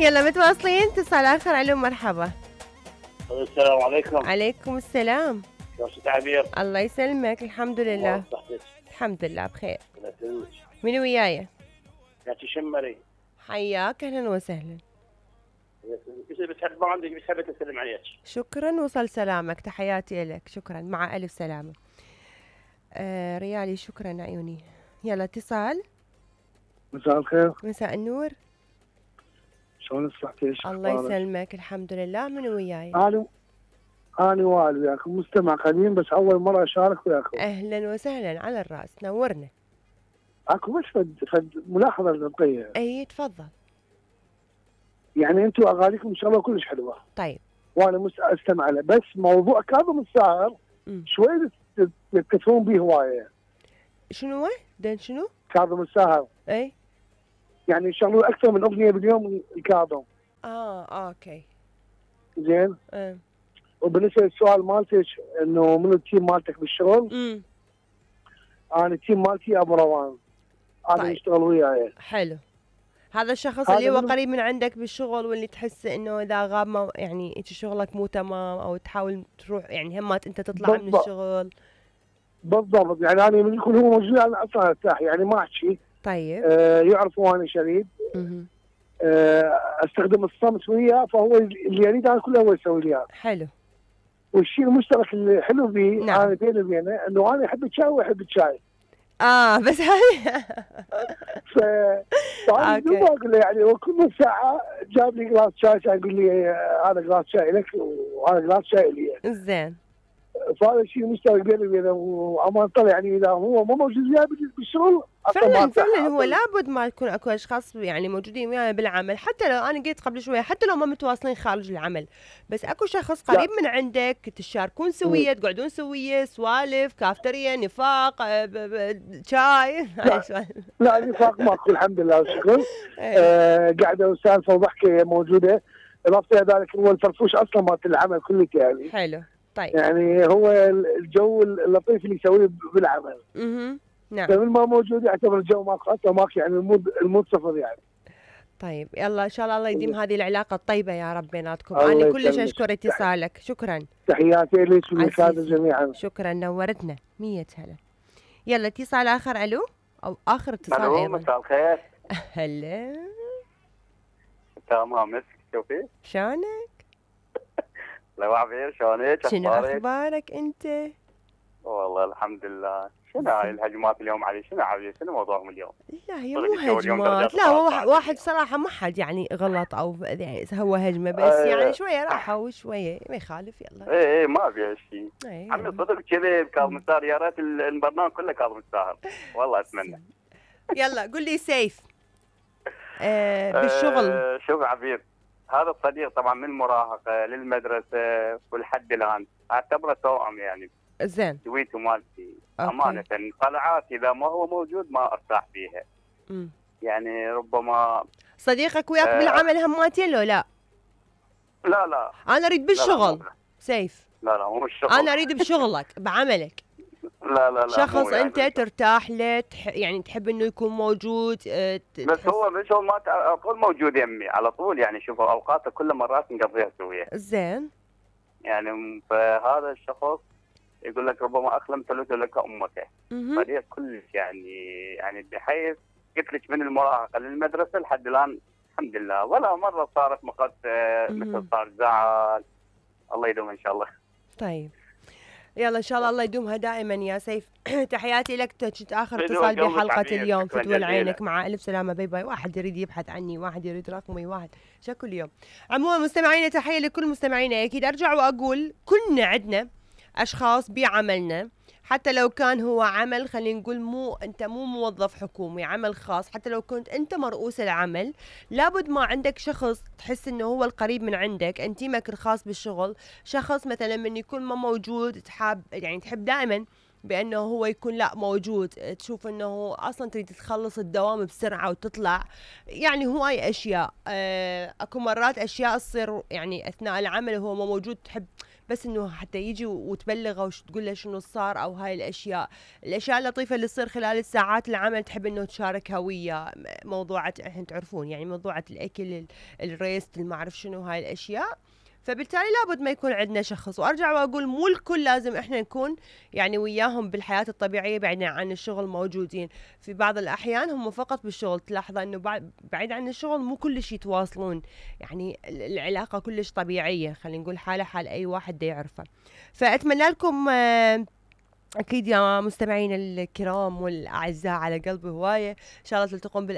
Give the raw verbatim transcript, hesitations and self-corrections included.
يلا متواصلين. اتصال آخر. ألو مرحبا. السلام عليكم. عليكم السلام. كيف عبير؟ الله يسلمك. الحمد لله. الحمد لله بخير. من وياي؟ ياتي شمري. حياك اهلا وسهلا. بتحب ما عندك بتحب تسلم عليك. شكرا وصل سلامك تحياتي لك. شكرا مع ألف سلامة. آه ريالي شكرا عيوني. يلا اتصال. مساء الخير. مساء النور. شلون صحتك؟ الله يسلمك الحمد لله. من وياي؟ انا انا وائل وياكم مستمع قديم بس اول مره اشارك وياكم. اهلا وسهلا على الراس نورنا. اكو بس فد فد ملاحظه نبقيها. اي تفضل. يعني انتم اغانيكم ان شاء الله كلش حلوه. طيب. وانا استمع له بس موضوع كاظم الساهر شوي تكثرون به هوايه. شنو هو؟ دين شنو؟ كاظم الساهر. اي. يعني يشغلون اكثر من اغنيه باليوم الكاظم. اه اوكي. زين؟ اه. وبالنسبه للسؤال مالتك انه من التيم مالتك بالشغل؟ امم انا التيم مالتي ابو روان. انا طيب. يشتغل وياي. حلو. هذا الشخص اللي هو قريب من عندك بالشغل واللي تحس انه اذا غاب ما يعني انت شغلك مو تمام او تحاول تروح يعني همات انت تطلع بالضبط. من الشغل. بالضبط يعني انا من يكون هو موجود انا اصلا ارتاح يعني ما احكي. طيب. آه يعرفوا انا شريد. اها. آه استخدم الصمت وياه فهو اللي يريد انا كله هو يسوي لي اياه. حلو. والشيء المشترك اللي حلو فيه نعم. انا بيني وبينه انه انا احب الشاي ويحب الشاي. اه بس هذه ف فانا دوب اقول له يعني وكل ساعه جاب لي جلاس شاي كان يقول لي هذا جلاس شاي لك وهذا جلاس شاي لي. زين. فهذا الشيء مشترك بيني وبينه وامان طلع يعني اذا هو مو موجود وياي بالشغل فعلا فعلا هو لابد ما يكون اكو اشخاص يعني موجودين وياي بالعمل حتى لو انا قلت قبل شويه حتى لو ما متواصلين خارج العمل بس اكو شخص قريب لا. من عندك تشاركون سويه تقعدون سويه سوالف كافتريا نفاق شاي. لا, لا نفاق ماكو الحمد لله والشكر. آه قاعده وسالفه وضحكه موجوده. اضافه الى ذلك هو الفرفوش اصلا مالت العمل كله يعني. حلو. طيب. يعني هو الجو اللطيف اللي يسويه بالعمل. اها. نعم. فمن ما موجود يعتبر الجو ماكو حتى ماكو يعني المود المود صفر يعني. طيب يلا ان شاء الله الله يديم هذه العلاقه الطيبه يا رب بيناتكم. انا كلش اشكر اتصالك. شكرا. تحياتي لك وللساده جميعا. شكرا نورتنا. مية هلا. يلا اتصال اخر. الو او اخر اتصال ايضا. مساء الخير. هلا. تمام مسك شوفي. شلونك؟ لو عبير شلونك؟ شنو اخبارك انت؟ والله الحمد لله. شنو هاي الهجمات اليوم علي؟ شنو عبير؟ شنو موضوعهم اليوم؟ لا هي مو هجمات. لا هو واحد صراحه ما حد يعني غلط او يعني هو هجمه بس أيه. يعني شويه راحه وشويه ما يخالف. يلا اي اي ما فيها شيء. أيه. عمي صدق كذي كاظم الساهر يا ريت البرنامج كله كاظم الساهر والله اتمنى. يلا قل لي سيف. آه بالشغل. آه شوف عبير هذا الصديق طبعا من المراهقه للمدرسه ولحد الان اعتبره توأم يعني. زين. دويته مالتي امانه طلعات اذا ما هو موجود ما ارتاح فيها. امم يعني ربما صديقك وياك آه بالعمل هماتين لو لا؟ لا لا انا اريد بالشغل. لا لا سيف. لا لا مو بالشغل. انا اريد بشغلك بعملك. لا لا لا شخص انت يعني ترتاح له تح يعني تحب انه يكون موجود. أه بس هو مش هو ما على طول موجود يمي على طول يعني شوف اوقاته كل مرات نقضيها سويه. زين. يعني فهذا الشخص يقول لك ربما اخلمت لك امك. فريق كلش يعني يعني بحيث قلت لك من المراهقه للمدرسه لحد الان الحمد لله ولا مره صارت مقت مثل صار زعل. الله يدوم ان شاء الله. طيب يلا ان شاء الله الله يدومها دائما يا سيف. تحياتي لك. كنت اخر اتصال بحلقه اليوم. فتوى لعينك مع الف سلامه. باي باي. واحد يريد يبحث عني واحد يريد رقمي واحد شكل اليوم. عموما مستمعينا تحيه لكل مستمعينا. اكيد ارجع واقول كلنا عندنا اشخاص بعملنا حتى لو كان هو عمل خلينا نقول مو انت مو موظف حكومي عمل خاص حتى لو كنت انت مرؤوس العمل لابد ما عندك شخص تحس انه هو القريب من عندك انتيمك الخاص بالشغل. شخص مثلا من يكون ما موجود تحب يعني تحب دائما بانه هو يكون لا موجود. تشوف انه اصلا تريد تخلص الدوام بسرعه وتطلع. يعني هواي اشياء. اكو مرات اشياء تصير يعني اثناء العمل وهو ما موجود تحب بس انه حتى يجي وتبلغه وتقول له شنو صار او هاي الاشياء. الاشياء اللطيفه اللي تصير خلال الساعات العمل تحب انه تشاركها وياه. موضوعات احنا تعرفون يعني موضوعات الاكل الريست ما اعرف شنو هاي الاشياء. فبالتالي لابد ما يكون عندنا شخص. وارجع واقول مو الكل لازم احنا نكون يعني وياهم بالحياه الطبيعيه بعيدا عن الشغل موجودين. في بعض الاحيان هم فقط بالشغل، تلاحظ انه بعيد عن الشغل مو كلش يتواصلون، يعني العلاقه كلش طبيعيه، خلينا نقول حاله حال اي واحد دا يعرفه. فاتمنى لكم اكيد يا مستمعين الكرام والاعزاء على قلبي هوايه ان شاء الله تلتقون بال